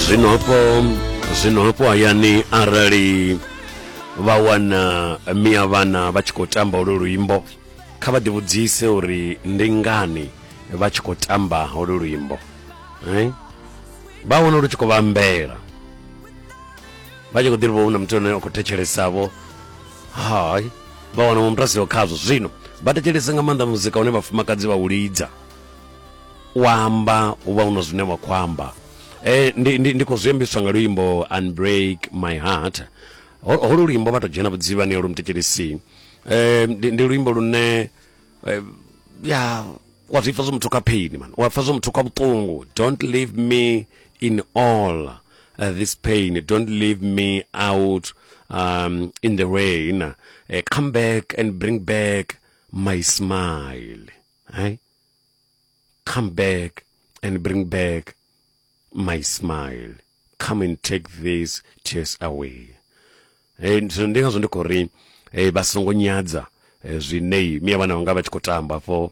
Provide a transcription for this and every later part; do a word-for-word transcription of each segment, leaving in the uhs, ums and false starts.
Zwino hafho zwino hafho hayani arali vha wana mia vhana vha tshi khou tamba holu luimbo, kha vha ḓivhudzise uri ndi ngani vha tshi khou tamba holu luimbo. Eh? Vha wana lu tshi khou vhambela, vha tshi khou ḓi hu na muthu ane a khou thetshelesavho, hai vha wana muthu a siho khazwo. Zwino vha thetshelese nga maanḓa muzika une vhafumakadzi vha u lidza, u amba hu vha hu na zwine wa khou amba. Eh, ndi, ndi, ndi khou zwi ambiswa nga luimbo Unbreak My Heart. Holu luimbo vha to dzhena vhudzivhani holu muthetshelesi. Eh, ndi, ndi luimbo lune eh, ya wa zwi pfa zwo muthu kha pain man, wa pfa zwo muthu kha vhuṱungu. Don't leave me in all uh, this pain, don't leave me out um, in the rain. Uh, come back and bring back my smile. Eh? Come back and bring back my smile. Come and take these tears away. Eh, ndi ngazwo ndi khou ri eh, vha songo nyadza eh, zwine mia vhana vhanga vha tshi khou tamba afho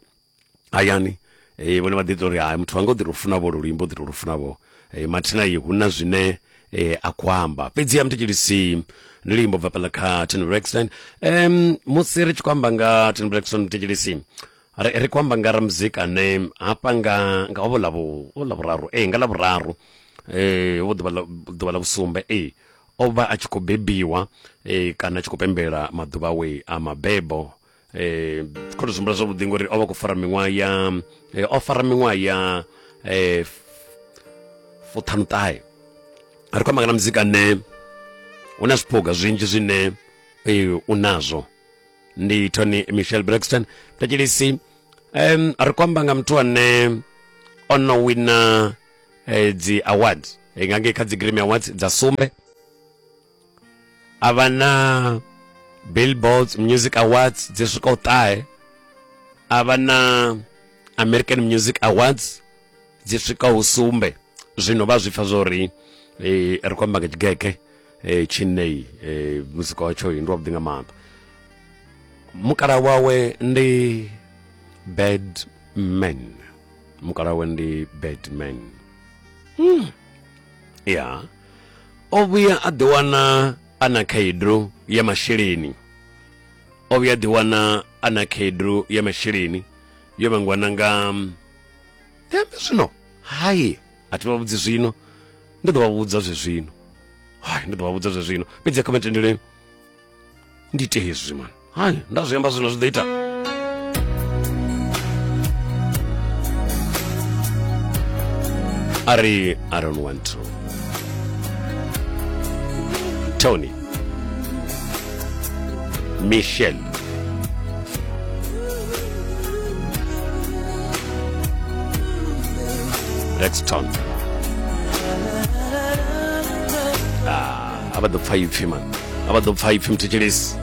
hayani. Eh, vhone vha ḓi ita uri hai muthu wanga u ḓi tou funa vho luimbo, u ḓi tou funa vho. Eh, mathina iyi hu na zwine eh, a khou amba. Fhedzi ya muthetshelesi ndi luimbo bva fhaḽa kha Toni Braxton. Um, musi ri tshi khou amba nga Toni Braxton muthetshelesi, ri ri khou amba nga ramuzika ane hafha nga nga ovho ḽa vhuraru eh nga ḽa vhuraru eh hovho ḓuvha ḽa ḓuvha ḽa vhusumbe eh o vha a tshi khou bebiwa eh kana a tshi khou pembela maḓuvha awe a mabebo. Eh khou tou zwihumbula zwavhuḓi ngori o vha khou fara miṅwaha ya eh, o fara miṅwaha ya eh fuṱhanuṱahe. Ri khou amba nga muzika ane hu na zwiphuga zwinzhi zwine eh, u nazwo. Ndi Toni Michelle Braxton. Thetshelesi, um, ri khou amba nga muthu ane o no wina eh, dzi awards eh, nga ngei kha dzi Grammy Awards dza sumbe, a vha na Billboard Music Awards dzi swikaho ṱahe, a vha na American Music Awards dzi swikaho sumbe. Zwino vha zwi pfa zwo ri eh, ri khou amba nga tshigege eh, tshinei eh, muzika watsho ndi wavhuḓi nga maanḓa. Mukala wawe ndi Bad Man. Mukala wawe ndi Bad Man. Hmm. Ya. O vhuya a ḓiwana a na khaedu ya masheleni. O vhuya a ḓiwana a na khaedu ya masheleni yo vhangwa na nga ndi ambe zwino. Hai, a thi vha vhudzi zwino. Ndi ḓo vha vhudza zwe zwino. Hai, ndi ḓo vha vhudza zwe zwino. Fhedzi kha vha ndi ite hezwi man. Hai, nda zwi amba zwino zwi ḓo ita. A ri I don't want to. Toni Michelle Braxton. Ah, a vha ḓo pfa ipfi man. A vha ḓo pfa ipfi muthetshelesi.